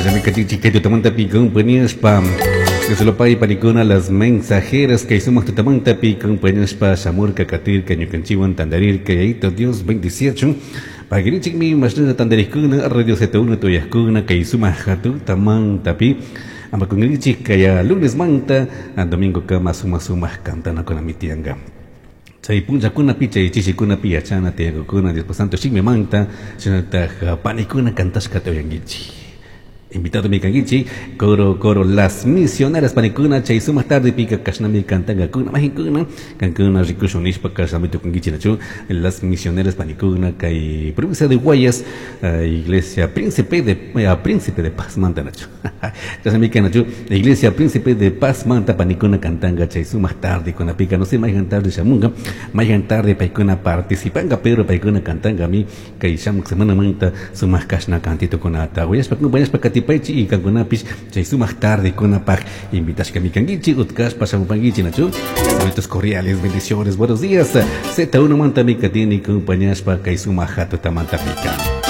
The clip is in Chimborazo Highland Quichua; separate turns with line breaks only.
Chashnami kachinchik kay tutamantapi compañashpa. Dios panikuna las mensajeras kay sumak tutamantapi compañashpa shamurka katirka ñukanchikwan tantarirka Yayito Dios bendiciachun. Pagrinchikmi mashnalla tantarikuna Radio Z1 tuyakuna kay sumak tutamantapi. Ama kunrinchik kaya lunes manta domingo kama sumak sumak cantanakunami tiyanka. Chay punllakunapi chay chishikunapi yachana tiyankakuna Dios santo shimimanta shinallatak panikuna cantashkata uyankichik. Invitado mi kankichik coro coro las misioneras panikuna chay sumak tardepika kashnami cantankakuna majinkuna kankuna rikushun nishpa kashnami tukunkichik nachu las misioneras panikuna kay provincia de Guayas iglesia Príncipe de Príncipe de Paz manta nachu chashnami nachu iglesia Príncipe de Paz manta panikuna cantanka chay sumak tarde kunapika no sé mayhan tarde shamunka mayhan tarde paykuna participanka pero paykuna cantanka mi kay shamuk semana manta sumak kashna cantitukunata uyashpa kumpanyashpa katipaychik y kankunapish chay sumak tarde kunapaj invitashkami kankichik utkashpa shamupankichik nachu saludos cordiales bendiciones buenos días Z1 manta mi katini kumpanyashpa kay sumak hatutamanta pika.